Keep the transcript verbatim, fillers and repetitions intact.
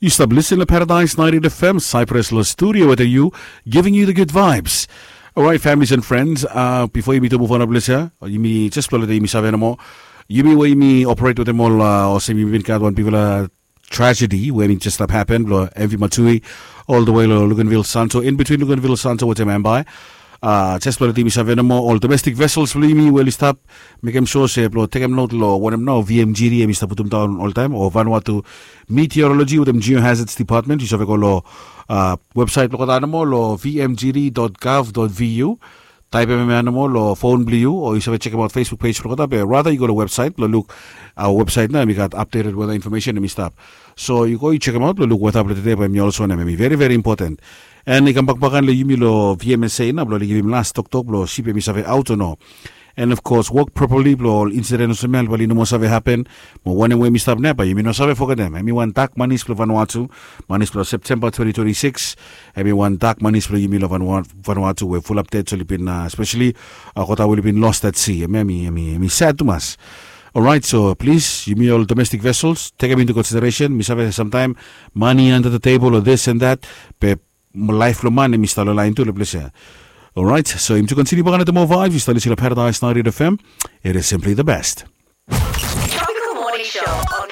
Yu stap lisin long Paradise ninety-eight F M, Cyprus lo studio wetem yu, giving you the good vibes. Alright, families and friends, uh, bifo yumi tu move on, bless ya, yumi just blo leta yumi save nomo. Yumi we yumi operate wetem ol, uh, olsem yumi bin gat wan bigfala tragedy we yumi just stap happen blo M V Matui, all the way lo Luganville Santo, in between Luganville Santo wetem Ambae. Uh, just blo leta yumi save nomo, ol domestic vessels blo yumi we oli stap, mekem sure se blo tekem note lo wanem nao V M G D hemi stap putum daon oltaem, o Vanuatu Meteorology wetem Geohazards Department. Yu save go lo, uh, website blo olgeta nomo lo V M G D dot gov dot V U. Taepem hemia nomo lo fon blo yu, o yu save jekemaot Facebook page blo olgeta, be rather yu go lo website blo luk, uh, website nao hemi gat updated weather information hemi stap. So yu go yu jekemaot blo luk weather blo tede, bae hemi olsem wanem, hemi very very important. And i kambak bakan lo yumi lo V M S A nao blo oli givim las toktok blo sip hemi save aot o no. And of course, wok properly blo ol incident olsem ya bae oli no moa save happen. Mo wanem we hemi stap nao, bae yumi no save fogetem, hemi wan dak manis blo Vanuatu, manis blo September twenty twenty-six. Hemi wan dak manis blo yumi lo Vanua-, Vanuatu we fulap ded oli bin, uh, especially, uh, olgeta we oli bin lost at sea. Hemi, hemi, hemi, hemi sad tumas. Alright, so please, yumi ol domestic vessels, take them into consideration. Mi save samtaem money under the table or this and that, be laef blo man hemi stap lo laen tu lo ples ya. Alright, so yumi tu kontiniu bakan wetem moa vibes. Yu stap lisin lo Paradise ninety-eight F M. It is simply the best. Tropical Morning Show on